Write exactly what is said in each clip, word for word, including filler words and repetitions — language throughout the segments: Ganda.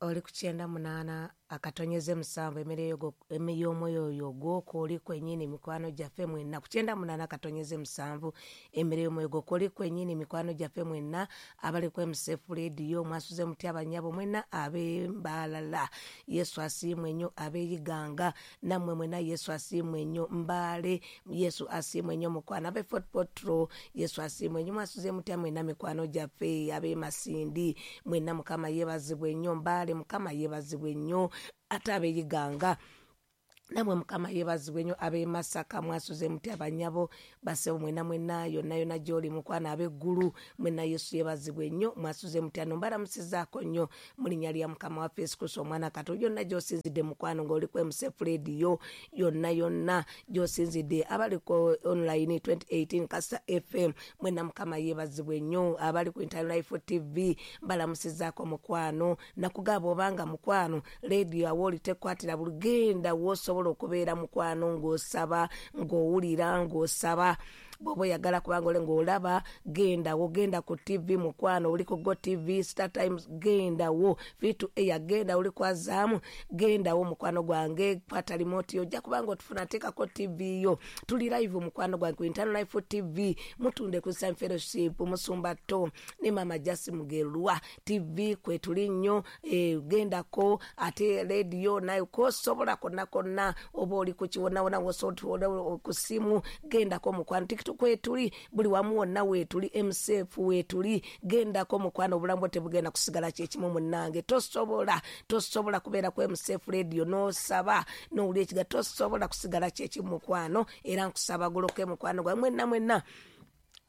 Oli ku kyenda munaana akatonyeze musanvu, emmere y'omwoyo oyo gw'okwoli kwennyini, mikwano gyaffe mwenna. Ku kyenda munaana akatonyeze musanvu, emmere y'omwoyo gw'okwoli kwennyini, mikwano gyaffe mwenna abali ku M C F Radio, mwasuze mutya abannyabo mwenna ab'embalala? Yesu asiimwe nnyo. Ab'eyiganga nammwe mwenna, Yesu asiimwe nnyo. Mbaale, Yesu asiimwe nnyo mukwano. Ab'e Fort Portal, Yesu asiimwe nnyo. Mwasuze mutya mwenna mikwano gyaffe? Ab'e Masindi mwenna, Mukama yeebazibwe nnyo. Mbaale, Mukama yeebazibwe nnyo. Ate ab'eyiganga namwe, Mukama yeebazibwe nnyo. Ab'e Masaka mwasuze mutya abanyabo, basebo mwenna mwenna, yonna yonna gy'oli mukwano? Ab'eggulu mwenna, Yesu yeebazibwe nnyo. Mwasuze mutya? No mbalamusizaako nnyo mu linnya lya Mukama waffe Yesu Kristo omwana kato. Yonna gy'osinzidde mukwano ng'oli ku M C F Radio, yonna yonna gy'osinzidde, abali ku online twenty eighteen Kasa F M, mwenna Mukama yeebazibwe nnyo. Abali ku Internal Life T V, mbalamusizaako mukwano. Nakugaba obanga mukwano radio awo oli tekwatira bulugenda, wosobola okubeera mukwano ng'osaba, ng'owulira ng'osaba. Bw'oba oyagala kubanga ole ng'olaba, gendawo, genda ku T V mukwano. Oli ku Go T V, Star Times, gendawo, Vitu Air, genda. Oli kwazaamu, gendawo mukwano gwange, kwata remote ojja kubanga otufuna. Teekako T V yo, tuli live mukwano gwange ku Internal Life T V, mutunde ku Sun Fellowship, Musumba To ne Mama Jasi Mugerwa T V kwetuli nnyo. eh, gendako ate radio nayo kosobola konna konna, oba oli ku kiwonawona, wosobola ku simu, gendako mukwano. TikTok kwetuli, buli wamu wonna weetuli, M C F weetuli, gendako mukwano. Obulamu bwo tebugenda kusigala kyekimu munnange. Tosobola, tosobola kubeera ku M C F Radio n'osaba n'owulira ekiga, tosobola kusigala kyekimu mukwano. Era nkusaba goloke mukwano gwa mwenna mwenna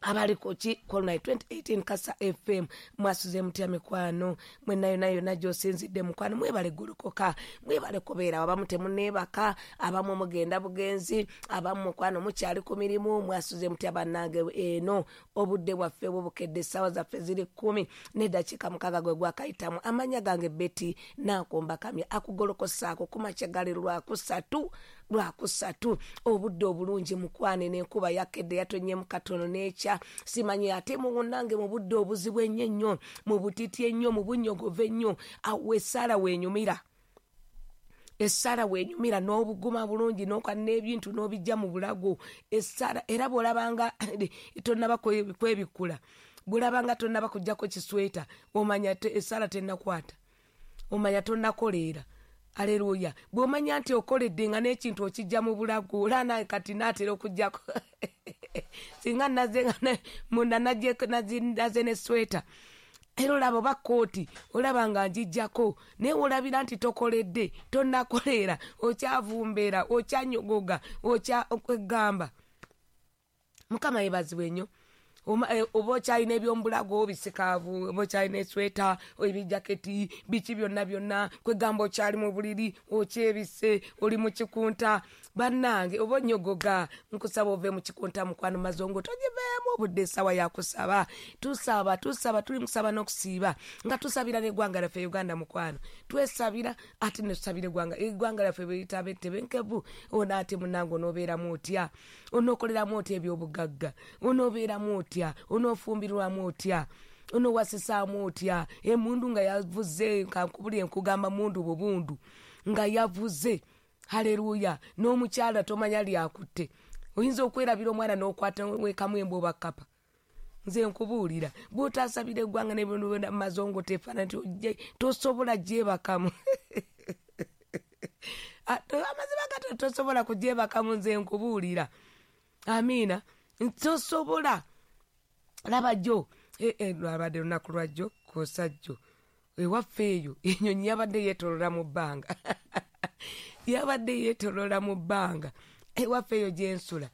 abali ku ki Colonel twenty eighteen Kasa F M, mwasuze mutya mikwano mwenna yonna yonna gy'osinzidde mukwano? Mwebale golokoka, mwebale kubeera. Abamu temuneebaka, abamu mugenda bugenzi, abamu mukwano mukyali ku mirimu. Mwasuze mutya bannange? Eno obudde bwaffe bubukedde, essaawa zaffe ziri kkumi n'eddakiika mukaaga gwe gwakayitamu. Amanya gange Betty Nankomba Kamya, akugolokosaako ku makya gali lwakusatu, lwakusatu, obudde obulungi mukwane. N'enkuba yakedde, yatonnyemu katono n'ekya simanyi. Ate munnange mu budde obuzibu ennyo ennyo, mu butiti ennyo, mu bunnyogovu ennyo, awo essaala weenyumira, essaala weenyumira n'obuguma bulungi n'oka n'ebintu n'obijja mu bulago essaala. Era bw'olabanga tonnaba kwebikkula, bw'olabanga tonnaba kuggyako kisweta, omanya essaala tennakwata, omanya tonnakoleera. Aleluya! Bw'omanya nti okoledde nga n'ekintu okijja mu bulago, olana kati naatera okugjako, singa naze munda naze ne sweta, era olaba oba kooti olaba nga njijjako. Naye olabira nti tokoledde, tonnakoleera, okyavumbeera, okyanyogoga, okyakwegamba. Mukama yebazibwe nnyo. Oba okyalina ebyomubulago bisikaavu, oba okyalina esweta, ebijaketi, biki byonna byonna, kwegamba okyali mu buliri, okyebise, oli mu kikunta. Bannange, oba onyogoga, nkusaba ove mu kikunta mukwano, mazongo togiveemu. Obudde essaawa yakusaba, tusaba, tusaba, tuli musaba n'okusiiba nga tusabira n'eggwanga lyaffe Uganda mukwano. Twesabira ate netusabira eggwanga, eggwanga lyaffe bwelitaba ettebenkevu, ona ate munange onoobeeramu otya? Onookoleramu otya ebyobugagga? Onoobeeramu otya? Onoofumbirwamu otya? Onoowasisaamu otya? Emundu nga yavuze, kankubuli enkugamba mundu bubundu nga yavuze. Haleluya! N'omukyala tomanya lyakutte, oyinza okwerabira omwana n'okwata wekamu embwa oba kkapa. Nze nkubuulira, bw'otasabira eggwanga nebamazongo tefaana nti tosobola gyebakamu. Amazima gato, tosobola kugyebakamu. Nze nkubuulira, amiina, tosobola. Laba jjo, lwabadde lunaku lwajjo kosajjo, ewaffe eyo enyonyi yabadde yeetolola mu bbanga, yabadde yeetolola mu bbanga ewaffe eyo gyensula.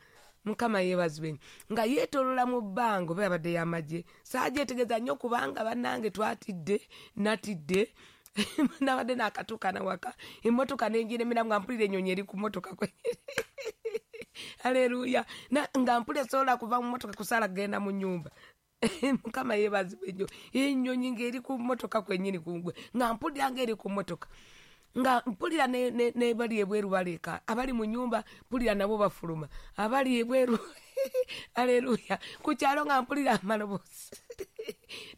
Mukama yeebazibwe, nga yeetolola mu bbanga, oba yabadde yamagye, saagyetegeeza nnyo kubanga bannange twatidde, natidde. Nabadde nakatuuka nawaka, emmotoka nenjiremera nga mpulira enyonyi eri ku mmotoka. Aleluya! Nga mpulira sobola kuva mu mmotoka kusaala kugenda mu nyumba. Mukama yeebazibwe nnyo. Ennyonyi ng'eri ku mmotoka kwennyini kungwe, nga mpulira ng'eri ku mmotoka. Nga mpulira ne, ne, ne bali ebweru baleka, abali mu nyumba mpulira nabo bafuluma, abali ebweru aleluya, ku kyalo nga mpulira amaloboozi.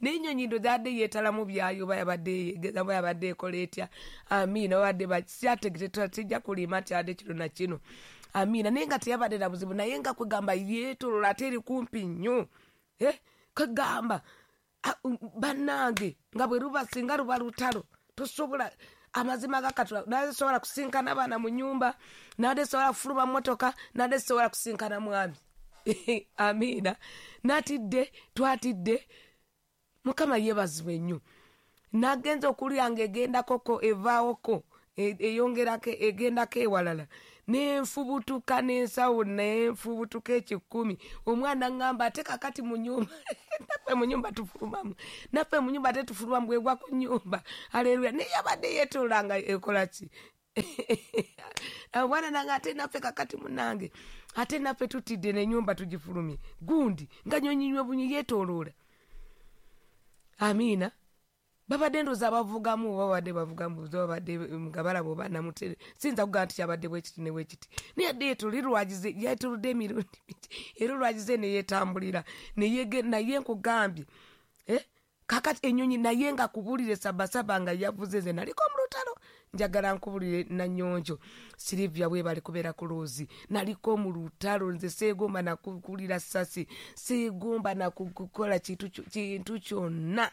N'ennyonyi ndo zadde yeetalamu byayo, oba yabadde yegeza, oba yabadde ekola etya. Amiina, babadde bakyategeera, tijja kulima nti adde kino na kino. Amiina, naye nga teyabadde na buzibu, naye nga kwegamba yeetolola ate eri kumpi nnyo. Eh, kwegamba bannange nga bwe luba singa luba lutalo, tosobola amazima ga Katonda, nadde sobola kusinkana abaana mu nnyumba, nadde sobola kufuluma mmotoka, nadde sobola kusinkana mwami. Amiina, natidde, twatidde. Mukama yeebazibwe nnyo. Nagenza okulya ng'egendakoko evaawoko, eyongerako egendako ewalala, nenfubutuka n'ensawo, nenfubutuka ekikumi. Omwana ŋŋamba ate kakati mu nnyumba, naffe mu nnyumba tufulumamu, naffe mu nnyumba ate tufulumamu, bwegwa ku nnyumba. Aleluya, naye yabadde yeetolola nga ekola ki? Omwana nange ate naffe kakati munnange, ate naffe tutidde n'ennyumba tugifulumye. Gundi nga nyonyinywe bunyi yeetooloola. Amiina. Babadde ndowooza bavugamu, babadde bavugamu, babadde nga balaba oba namutere. Siyinza kugamba nti kyabadde bwe kiti ne bwe kiti. Naye yadde yeetolodde lwagize, yeetolodde emirundi mingi, era olwagize ne yeetambulira. Naye nkugambye, eh, kakati ennyonyi naye nga kubuulire sabasaba nga yavuze, nze naliko mu lutalo. Njagala nkubulire Nanyonjo Silivia bwe bali kubeera ku loozi. Naliko mu lutalo, nze seegomba nakukulira ssasi, seegomba nakukola kintu kyonna.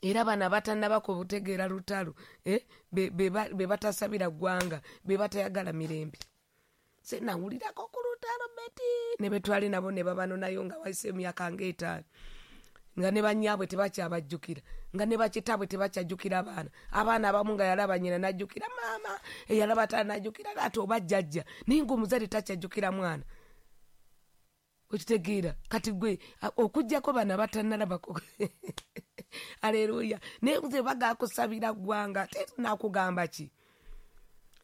Era bano abatannaba kutegeera lutalo, eh, be, be, be batasabira ggwanga, be batayagala mirembe. Se nawulirako ku lutalo beti ne betwali nabo ne babanonayo nga wayise emyaka ng'etaano, nga ne bannyabwe tebakyabajjukira, nga ne bakitaabwe tebakyajjukira abaana. Abaana abamu nga yalaba nnyina n'ajjukira maama, eyalaba taata n'ajjukira taata oba jjajja, naye ng'omuzadde takyajjukira mwana. Okitegeera? Kati gwe okuggyako bano abatannalabako. Aleluya. Naye nze bagakusabira ggwanga, ate nakugamba ki?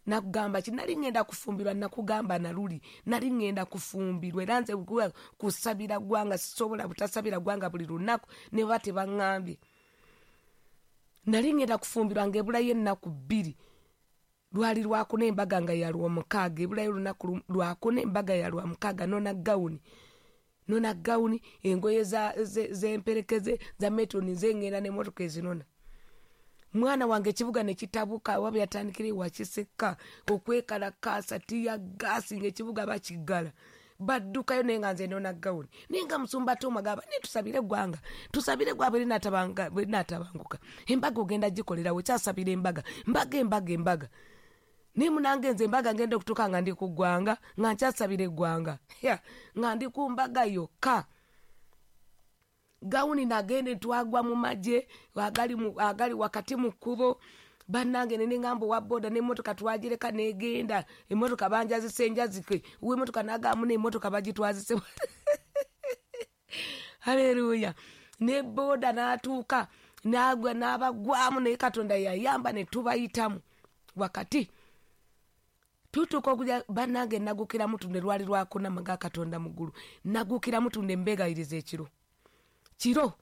Nakugamba ki? Nali ŋŋenda kufumbirwa, nakugamba naluli, nali ŋŋenda kufumbirwa, era nze kusabira ggwanga sisobola butasabira ggwanga buli lunaku ne baba tebaŋŋambye. Nali ŋŋenda kufumbirwa ng'ebulayo ennaku bbiri. Lwali lwakuna embaga nga ya Lwomukaaga, ebulayo olunaku lwakuna embaga ya Lwamukaaga, nona gawuni. Nona gawuni, engoye z'emperekeze za metoni nze ŋŋenda n'emmotoka ezinona. Mwana wange ekibuga ne kitabuka, oba byatandikira ewa Kiseka okwekalakaasa, tiyagaasi ng'ekibuga bakiggala. Baddukayo naye nga nze nona gawuni. Naye nga musumba Tom agamba, naye tusabire eggwanga, tusabire eggwanga bwe linaatabanguka. Embaga ogenda gikolerawo, kyasabira embaga, mbaga embaga embaga. Naye munange nze embaga ngenda okutuuka nga ndi ku ggwanga, nga nkyasabira eggwanga, nga ndi ku mbaga yokka. Gawuni nagende twagwa mu magye agali, agali wakati mu kkubo. Bannange ne ŋŋamba owa booda n'emmotoka twagireka n'egenda, emmotoka banjazise njazike, ow'emmotoka n'agamba n'emmotoka bagitwazise. Haleluya. Ne booda n'atuuka n'agwa n'abagwamu, naye Katonda yayamba ne tubayitamu wakati. Tutuuka okujja bannange nagukira Mutundwe, lwali lwakuna nga Katonda mu ggulu. Nagukira Mutundwe mbeegayiriza ekiro. Kiro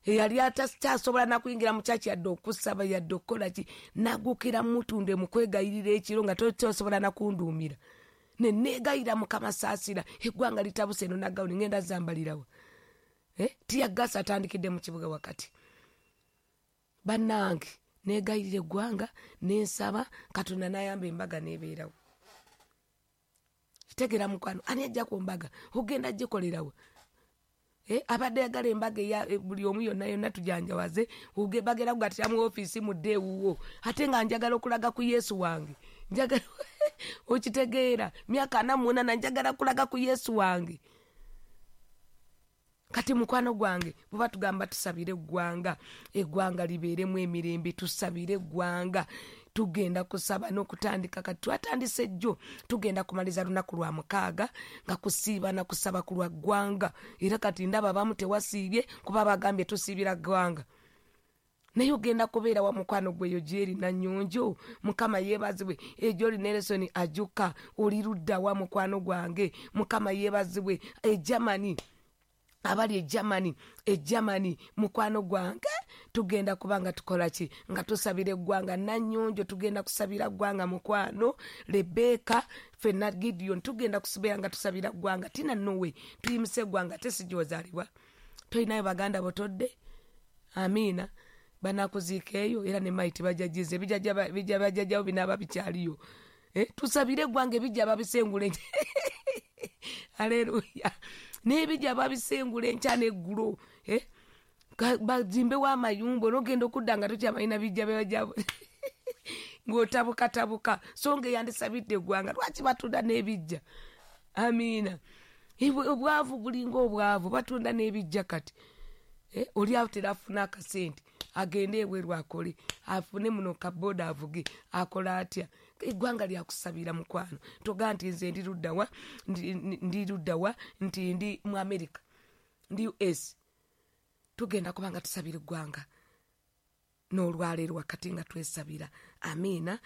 eyali atakyasobola nakuyingira mu kyaki yadde okusaba yadde okukola ki, nagukira Mutundwe mu kwegayirira ekiro nga tosobola nakunduumira. Ne neegayira Mukama saasira, eggwanga litabuse eno nagawuni ŋŋenda zambalirawa. Eh, tiyagaasi atandikidde mu kibuga wakati. Bannange neegayirira eggwanga nensaba Katonda n'ayamba embaga n'ebeerawo. Kitegeera mukwano, ani ajja ku mbaga ogenda gikolerawo? Eh, abadde ayagala embaga eya buli omu yonna yonna tujanjawaze, bagenda kugattira mu ofiisi mudde ewuwo, ate nga njagala okulaga ku Yesu wange. Njagala okitegeera, myaka ana mu munaana njagala kulaga ku Yesu wange. Kati mukwano gwange bwe batugamba tusabire eggwanga, eggwanga libeeremu emirembe, tusabire eggwanga. Tugenda kusaba n'okutandika, kati twatandise jjo, tugenda kumaliza lunaku lwa mukaaga nga kusiiba na kusaba ku lwa ggwanga. Era kati ndaba abamu tewasiibye kuba bagambye tusiibira ggwanga. Naye ogenda kubeera wa mukwano gweyo gyeri Nanyonjo, Mukama yeebazibwe. Ejoli Nelson ajuka, oli ludda wa mukwano gwange, Mukama yeebazibwe. E Germany, abali e Germany, e Germany mukwano gwange Tugenda kuba nga tukola ki? Nga tusabira eggwanga. Nanyonjo, tugenda kusabira ggwanga, mukwano. Rebeka, fenna, Gideon, tugenda kusibeera nga tusabira ggwanga. Tina nowe, tuyimuse eggwanga. Ate sigyozaalibwa, tolinayo baganda botodde. Amiina. Banakuziika eyo era ne maiti bajajiza ebijja bajjajjawo binaaba bikyaliyo. Eh, tusabire eggwanga. Ebijja babisengula enkya, aleluya, n'ebijja babisengula enkya n'eggulo. Eh, bazimbewo amayumba, onogenda okudda nga tokyamalina bijja bebajjabo, ng'otabukatabuka. So nga eyandisabidde eggwanga, lwaki batunda n'ebijja? Amiina. Obwavu bulinga obwavu, batunda n'ebijja kati. Eh, oli awo terafuna akasente agende ebweru akole, afune muno kaboda avuge, akola atya? Eggwanga lyakusabira, mukwano. Toga nti nze ndi luddawa, ndi luddawa, nti ndi mu America, ndi U S. Tugenda kuba nga tusabira eggwanga n'olwaleero wakati nga twesabira. Amiina.